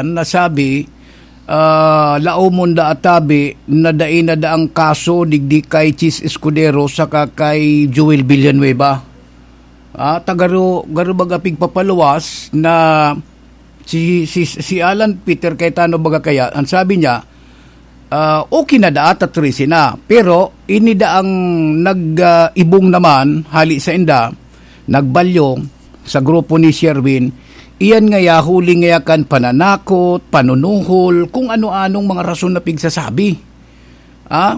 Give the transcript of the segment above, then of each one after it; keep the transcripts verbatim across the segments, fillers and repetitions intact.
nasabi, ah, laomon da atabi na dai na daang kaso digdi kay Chiz Escudero saka kay Joel Villanueva. Ah, ta garo, garo baga pigpapaluwas na si, si, si Alan Peter Cayetano baga kaya, ang sabi niya, ah, okay na daat at trese na. Pero ini daang nag, ah, ibong naman, hali sa inda, nagbalyo sa grupo ni Sherwin, iyan ngaya huli ngaya kan pananakot, panunuhol, kung ano-anong mga rason na pigsasabi. Ah?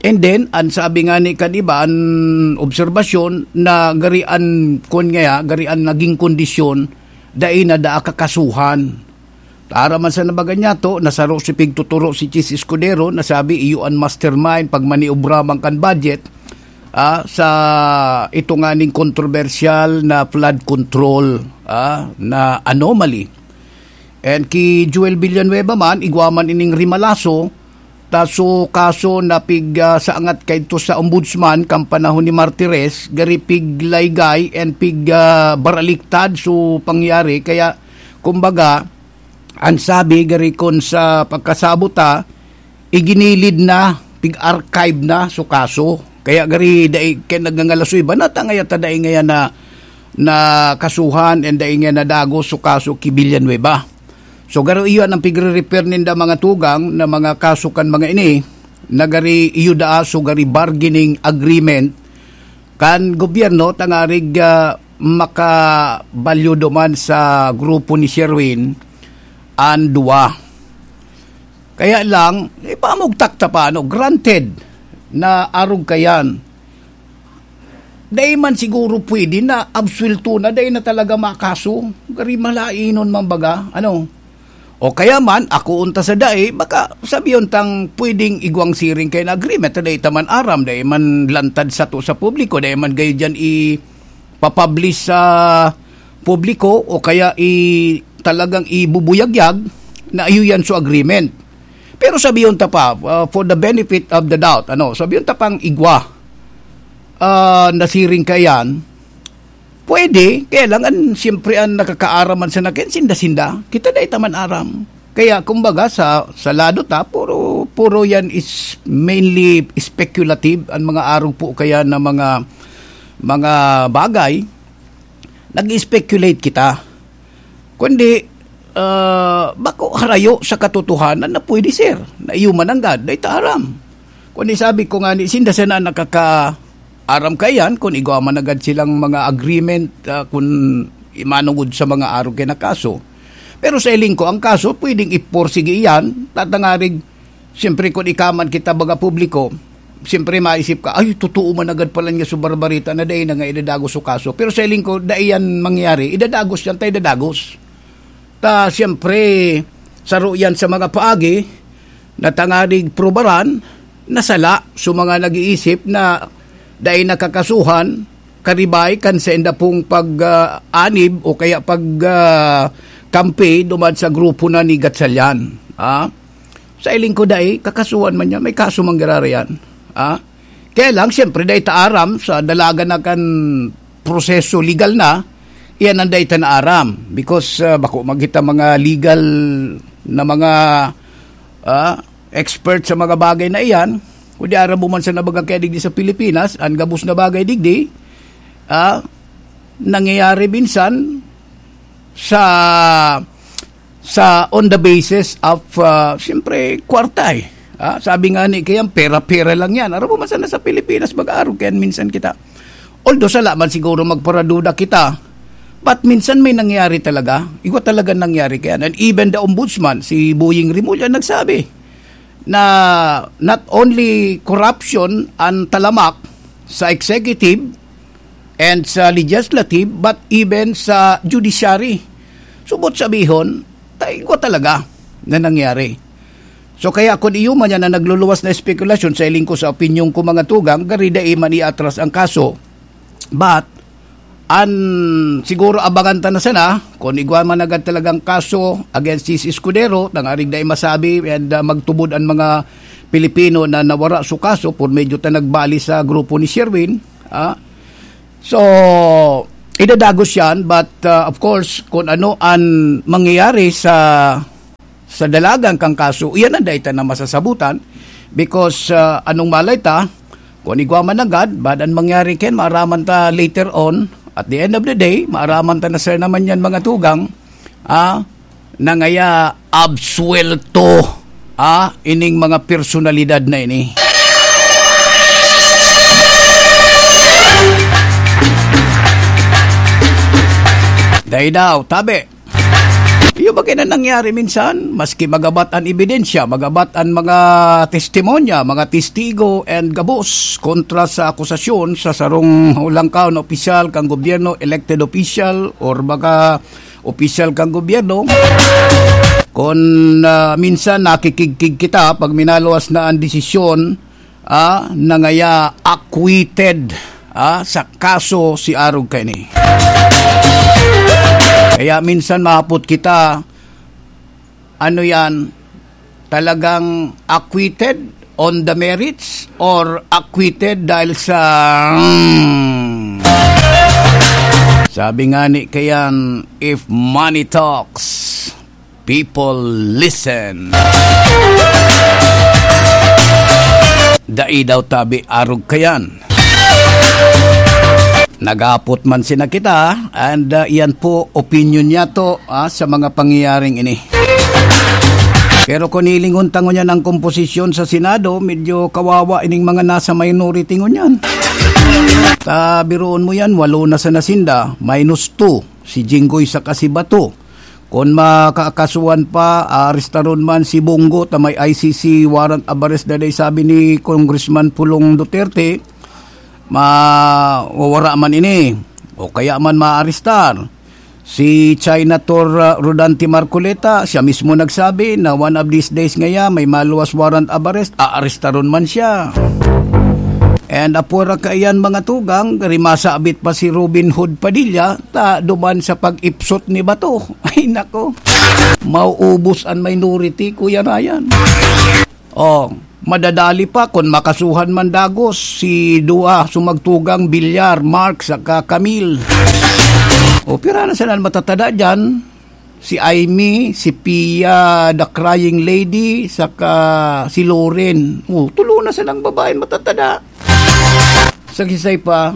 And then, ang sabi nga ni kan iba, an obserbasyon na gari an, kun ngaya, gari an naging kondisyon, dai na daa kakasuhan. Tara man sa nabaga niya to, nasaro si pigtuturo si Chiz Escudero, nasabi iyo an mastermind pag maniobra man kan budget, ah, sa ito nga ning kontrobersyal na flood control, ah, na anomaly. And ki Joel Villanueva man, igwa man ining rimalaso, ta so kaso na pig, ah, saangat kaidto sa ombudsman kan panahon ni Martires, gari piglaygay and pig, ah, baraliktad so pangyari. Kaya, kumbaga, ang sabi gari kun sa pagkasabot ta, iginilid na, pig-archive na so kaso. Kaya gari dai kaya nagngangalasoy ba na ta ngaya ta dai ngaya na, na kasuhan and dai ngaya nadagos so kaso ki Villanueva. So garo iyo ang pigre-refer ninda mga tugang na mga kaso kan mga ini, na gari iyo daa so gari bargaining agreement kan gobyerno tangarig, ah, makabalyo duman sa grupo ni Sherwin an duwa. Kaya lang, ipamugtak ta pa, ano, granted na arog kayan. Dai man siguro pwede na absuelto na, dai na talaga makaso. Gari malainon man baga, ano. O kaya man, ako unta sa dai, baka sabiyon tang pwedeng igwang siring kay na agreement, dai ta man aram, dai man lantad sato sa publiko, dai man gayo diyan ipapublish sa publiko o kaya i-, talagang ibubuyagyag na iyo yan so agreement. Pero sabiyon ta pa, uh, for the benefit of the doubt, ano, sabiyon ta pang igwa, ah, nasiring ka yan, pwede, kaya lang, an, siyempre, an nakakaaram man sa nakin, sinda-sinda. Kita dai ta man aram. Kaya, kumbaga, sa, sa lado ta, puro, puro yan is mainly speculative, an mga arog po kaya na mga, mga bagay, nag-speculate kita. Kundi, ah, bako harayo sa katotohanan na pwede, sir, na iyo mananggad, dai ta aram. Kundi sabi ko nga ni, sinda sana nakakaaram kaiyan kun igwa man agad silang mga agreement, ah, kun imanugod sa mga arog kay na kaso. Pero sa hiling ko, ang kaso, pwedeng iporsige iyan, tatangarig, siyempre, kun ikaman kita baga publiko, siyempre, maisip ka, "Ay, totoo man agad pala niya so barbarita na dai na nga idadagos so kaso." Pero sa hiling ko, dai yan mangyayari. Idadagos yan, ta idadagos. Ta, siyempre, saro yan sa mga paagi na tangarig prubaran na sala so mga nag-iisip na dai nakakasuhan, karibay kan sainda pong pag, ah, anib o kaya pag, ah, kampi duman sa grupo na ni Gatchalian. Ah? Sa hiling ko dai, kakasuhan man niya, may kaso man giraray yan. Ah? Kaya lang, siyempre, dai ta aram sa dalagan na kan proseso legal na, iyan ang dai ta naaram. Because, ah, bako magita mga legal na mga, ah, expert sa mga bagay na iyan, kundi aram mo man sa nabaga kaya digdi sa Pilipinas, ang gabos na bagay digdi, ah, nangyayari minsan sa, sa on the basis of, ah, siyempre, kwarta eh. Ah, sabi nga ni kaya, pera-pera lang yan. Aram mo man sana sa Pilipinas, mag-aarog kaya minsan kita. Although, sala man siguro magparaduda kita, but minsan may nangyari talaga. Igwa talaga nangyari kaya. And even the ombudsman, si Boying Remulla, nagsabi na not only corruption ang talamak sa executive and sa legislative, but even sa judiciary. Subot sabihon, ta igwa talaga na nangyari. So, kaya kun iyo man yan na nagluluwas na espekulasyon, sa hiling ko, sa opinyon ko, mga tugang, gari dai man iatras ang kaso. But, an, siguro abangan ta na sana, kung igwa man agad talagang kaso against si Escudero, tangarig dai masabi, and, ah, magtubod ang mga Pilipino na nawara su kaso, por medyo ta nagbali sa grupo ni Sherwin, ah. So, idadagos yan, but, ah, of course, kung ano ang mangyayari sa sa dalagan kan kaso, iyan ang dai ta na masasabutan. Because, ah, anong malay ta, kung igwa man nanggad, baad an mangyari kaiyan, maaraman ta later on. At the end of the day, maaraman ta na, sir, naman yan, mga tugang, ah, nangaya absuwelto, ah, ining mga personalidad na ini. Dai daw, tabi. Iyo ba kaya na nangyari minsan? Maski magabat an ebidensya, magabat an mga testimonya, mga testigo, and gabos kontra sa akusasyon sa sarong hulangkaw na opisyal kan gobyerno, elected official, or mga opisyal kan gobyerno, kun, ah, minsan nakikigkig kita pag minaluwas na an desisyon, ah, nangaya acquitted, ah, sa kaso si arog kaini. Kaya minsan mahapot kita, ano yan, talagang acquitted on the merits or acquitted dahil sa, hmm, sabi nga ni kayan, "If money talks, people listen." Dai daw tabi arog kayan. Nagapot man sina kita, and, ah, iyan po opinion niya to, ah, sa mga pangyayaring ini. Pero kung hilingon ta ngunyan ang komposisyon sa Senado, medyo kawawa ining mga nasa minority ngunyan. Ta, biruon mo yan, walo na sana sinda, minus two, si Jinggoy saka si Bato. Kun makakasuhan pa, aarestaron man si Bong Go ta may I C C warrant of arrest na dai, sabi ni Congressman Pulong Duterte, mawawara man ini o kaya man maarestar. Si Senator, ah, Rodante Marcoleta, siya mismo nagsabi na one of these days ngaya may maluwas warrant of arrest, aarestaron man siya. And apura kaiyan, mga tugang, rimasabit pa si Robin Hood Padilla, ta duman sa pag-ipsot ni Bato. Ay, nako. Mauubos an minority, Kuya Ryan. Oh, madadali pa kun makasuhan man dagos si duwa sumagtugang Villar, Mark, saka Camille. O, pira na sana an matatada diyan? Si Aimee, si Pia, the crying lady, saka si Loren. Oh, tulo na sanang babaeng matatada. Sagisay pa,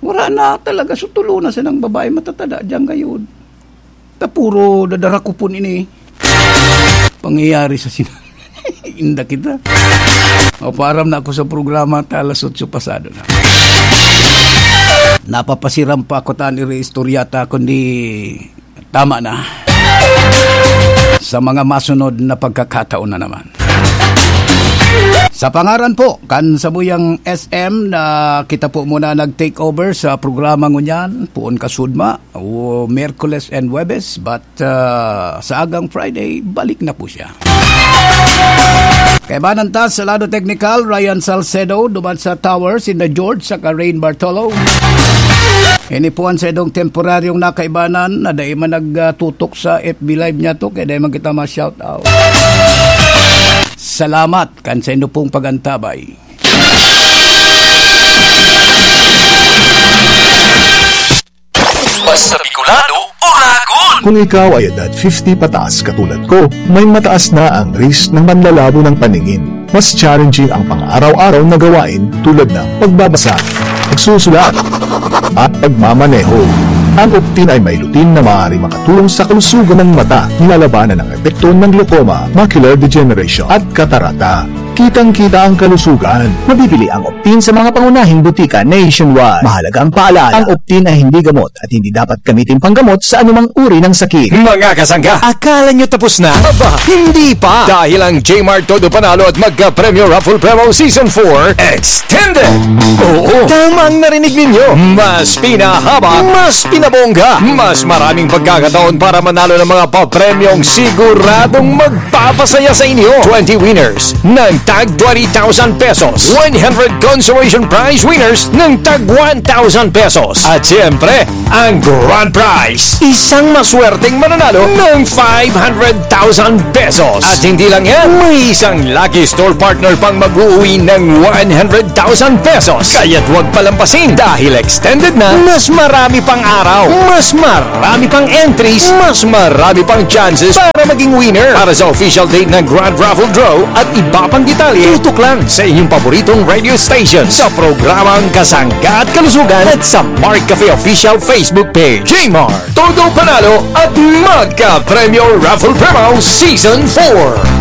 wala na talaga. So, tulo na sanang babae matatada diyan ngayon. Ta puro dadarakupon ini. Pangyayari sa sina-, inda kita. O, paaram na ako sa programa, ta alas otso pasado na. Napapasiram pa ako, ta an iri istorya ta, kundi tama na. Sa mga masunod na pagkakataon na naman. Sa pangaran po kan sabuyang S M na kita po muna nag-take over sa programa ngunyan, poon kasudma, o Miyerkules and Huwebes, but, ah, sa agang Friday, balik na po siya. Kaibanan ta sa lado teknikal, Ryan Salcedo, duman sa Tower, sinda George saka Rain Bartolo. Ini po an saindong temporaryong nakaibanan na dai man nagtutok sa F B Live niyato, kaya dai man kita ma-shout out. Salamat kan saindo pong pag-antabay. Basta Bicolano, Oragon! Kung ikaw ay edad fifty pataas katulad ko, may mataas na ang risk ng manlalabo ng paningin. Mas challenging ang pang-araw-araw na gawain tulad ng pagbabasa, pagsusulat, at pagmamaneho. Ang Optin ay may lutein na maaari makatulong sa kalusugan ng mata. Nilalabanan ang epekto ng glaucoma, macular degeneration, at katarata. Kitang-kita ang kalusugan. Mabibili ang Optin sa mga pangunahing butika nationwide. Mahalagang paalala, ang Optin ay hindi gamot at hindi dapat gamitin panggamot sa anumang uri ng sakit. Mga kasangga, akala nyo tapos na? Aba, hindi pa! Dahil ang J-Mart Todo Panalo at Magka Premyo Raffle Promo Season four Extended! Oo, tama ang narinig ninyo! Mas pinahaba, mas pinabongga, mas maraming pagkakataon para manalo ng mga papremyong siguradong magpapasaya sa inyo. Twenty winners ng tag twenty thousand pesos. One hundred consolation prize winners ng tag one thousand pesos. At siyempre, ang grand prize, isang maswerteng mananalo ng five hundred thousand pesos. At hindi lang yan, may isang lucky store partner pang mag-uwi ng one hundred thousand pesos. Kaya't huwag palampasin dahil extended na, mas marami pang araw, mas marami pang entries, mas marami pang chances para maging winner. Para sa official date ng Grand Raffle Draw at iba pang detalye, tutok lang sa inyong paboritong radio station sa programang Kasangga at Kalusugan at sa Mark Cafe Official Facebook Page. Jmart, todo panalo at magka-premyo Raffle Promo Season four.